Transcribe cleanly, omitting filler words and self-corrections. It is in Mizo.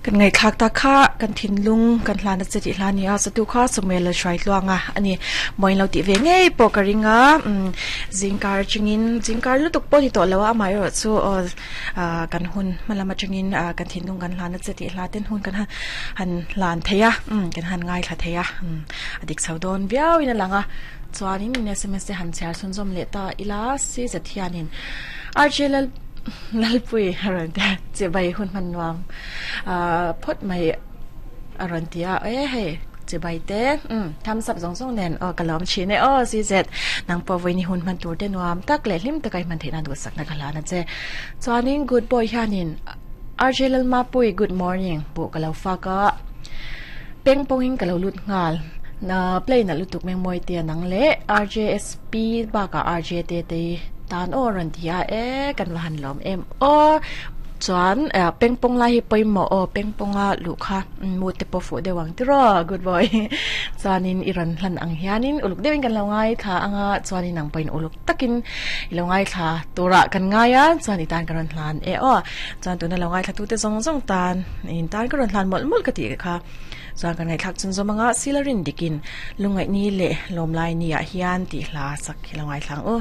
Kan ngaihthlak ta kha kan thinlung kan hlan a che tih hla a ni a, chatu kha Samuel a hruai tluang a a ni. Mawiin lo tih ve ngei pawh ka ring a, umm zingkar atangin zingkar lutuk pawh a ni tawh lo a, amaherawh chu aw ah kan hun hma lam atangin ah kan thinlung kan hlan a che tih hla ten hun kan han han hlan thei a, umm kan han ngaithla thei a, umm a dik chho dawn viauin a lang a. Chuanin in sms te han chhiar chhunzawm leh ta ila si zet hianin RJ Lal Lalpui a rawn ti a, chibai hun hman nuam ah phawt mai a rawn ti a, e hei chibai te umm thumbs up zawng zawng nen aw ka lawm thin e aw si zet nang pawh vawiin hun hman tur te nuam tak leh hlim taka i hman theih nan duhsakna ka hlan a che. Chuanin good boy hianin RJ Lalmapui good morning buh ka lo fak a. Peng pawngin ka lo lut nghal. Na play nalh lutuk Mengmawi te a nang leh RJSP bakah RJ te te hi tan aw a rawn ti a e kan va han lawm em aw chuan peng pawng lai hi pawimawh aw peng pawnga luh kha mood te pawh fuh deuh ang tiraw good boy chuanin i rawn hlan ang hianin uluk deuhin kan lo ngaithla anga chuanin nang pawhin uluk takin i lo ngaithla turah kan ngai a chuan i tan ka rawn hlan e aw chuan tuna lo ngaithla tute zawng zawng tan in tan ka rawn hlan mawlh mawlh ka tih kha chuan kan ngaihthlak chun zawm anga sila rin dikin lungngaih ni leh lawmlai ni ah hian tih hla sak hi lo ngaithla ang u.